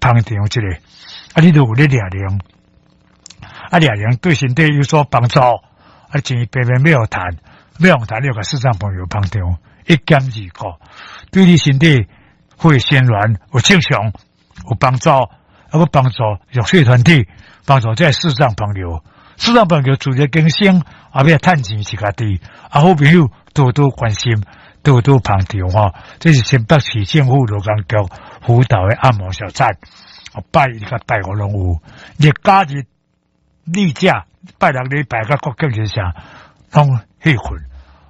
捧場一下，啊，你都有咧掠龍，啊，掠龍對身體有所幫助，啊，錢白白欲予趁，欲予趁，你就共視障朋友捧場，一兼二顧，對你身體血循環有正常有幫助，啊，閣幫助弱勢團體，幫助這視障朋友，視障朋友自力更生，啊，欲趁錢是家己，啊，好朋友多多關心，多多捧場吼，這是新北市政府勞工局輔導的按摩小站，拜一佮拜五攏有，日假日例假拜六禮拜佮國慶日啥攏歇睏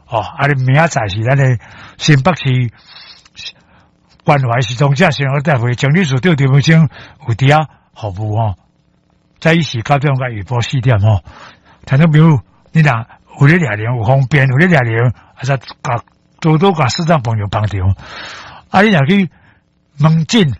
哦。啊，你明仔載是咱的新北市關懷失聰者生活大會整理處長陳文生有佇遐服務吼，早起是9點到下晡4點吼。聽眾朋友，你若有咧掠龍有方便，有咧掠龍，啊，則共多多共視障朋友捧場。啊，你若去門診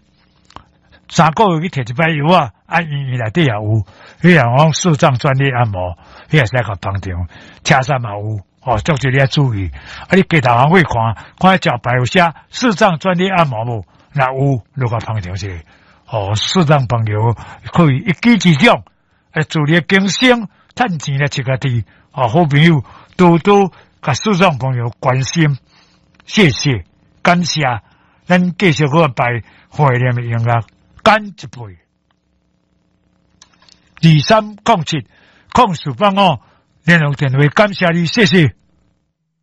，3個月去提一擺藥仔，啊，醫院內底也有，彼個講視障專業按摩，彼個會使共捧場，車站嘛有，哦，足濟你愛注意。啊，你街頭巷尾看，看招牌有寫視障專業按摩無？若有，就共捧場一下。哦，視障朋友可以一舉之長，來自力更生，趁錢來飼家己。哦，好朋友多多共視障朋友關心，謝謝，感謝。咱繼續閣擺懷念的音樂，干一杯。23070485聯絡電話，感謝你，謝謝。